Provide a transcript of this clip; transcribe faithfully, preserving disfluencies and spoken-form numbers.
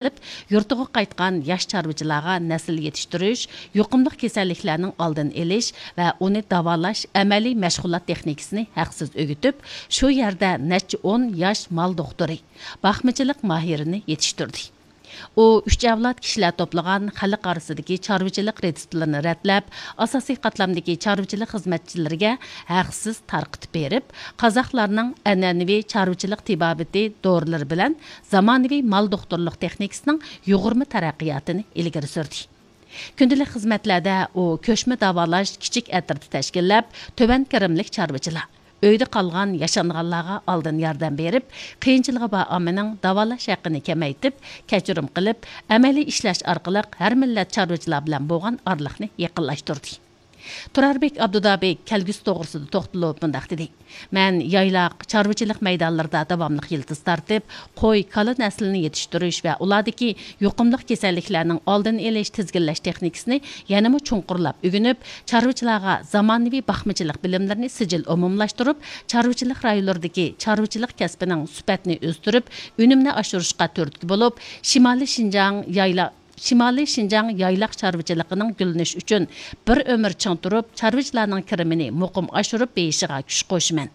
قىلىپ، يۇرتىغا قايتقان ياش چارۋىچىلارغا نەسىل يېتىشتۈرۈش، يۇقۇملۇق كېسەللىكلەرنىڭ ئالدىنى ئېلىش ۋە ئۇنى داۋالاش ئەمەلىي مەشغۇلات تېخنىكىسىنى ھەقسىز ئۆگىتىپ، شۇ يەردە نەچچە ئون ياش مال دوختۇرى، باقمىچىلىق ماھىرىنى يېتىشتۈردى. ئۇ ئۈچ ئەۋلاد كىشىلەر توپلىغان خەلق ئارىسىدىكى چارۋىچىلىق رېتسېپلىرىنى رەتلەپ، ئاساسىي قاتلامدىكى چارۋىچىلىق خىزمەتچىلىرىگە ھەقسىز تارقىتىپ بېرىپ، قازاقلارنىڭ ئەنئەنىۋى چارۋىچىلىق تېبابىتى دورىلىرى بىلەن زامانىۋى مال دوختۇرلۇق تېخنىكىسىنىڭ يۇغۇرما تەرەققىياتىنى ئىلگىرى سۈردى. كۈندىلىك خىزمەتلەردە ئۇ كۆچمە داۋالاش كىچىك ئەترىتى تەشكىللەپ، تۆۋەن كىرىملىك چارۋىچىلار، ئۆيدە قالغان ياشانغانلارغا ئالدىن ياردەم بېرىپ، قىيىنچىلىقى بار ئاممىنىڭ داۋالاش ھەققىنى كېمەيتىپ، كەچۈرۈم قىلىپ، ئەمەلىي ئىشلەش ئارقىلىق ھەر مىللەت چارۋىچىلار بىلەن بولغان ئارىلىقنى يېقىنلاشتۇردى. تۇراربېك ئابدۇدابى كەلگۈسى توغرىسىدا توختىلىپ مۇنداق دېدى: مەن يايلاق، چارۋىچىلىق مەيدانلىرىدا داۋاملىق يىلتىز تارتىپ، قوي، كالا نەسلىنى يېتىشتۈرۈش ۋە ئۇلاردىكى يۇقۇملۇق كېسەللىكلەرنىڭ ئالدىنى ئېلىش، تىزگىنلەش تېخنىكىسىنى يەنىمۇ چوڭقۇرلاپ ئۆگىنىپ، چارۋىچىلارغا زامانىۋى باقمىچىلىق بىلىملىرىنى سىجىل ئومۇملاشتۇرۇپ، چارۋىچىلىق رايونلىرىدىكى چارۋىچىلىق كەسپىنىڭ سۈپەتىنى ئۆستۈرۈپ، ئۈنۈمنى ئاشۇرۇشقا تۈرتكە بولۇپ، شىمالىي شىنجاڭ يايلا-، شىمالىي شىنجاڭ يايلاق چارۋىچىلىقىنىڭ گۈللىنىشى ئۈچۈن بىر ئۆمۈر چىڭ تۇرۇپ، چارۋىچىلارنىڭ كىرىمىنى مۇقىم ئاشۇرۇپ بېرىشىغا كۈچ قوشىمەن.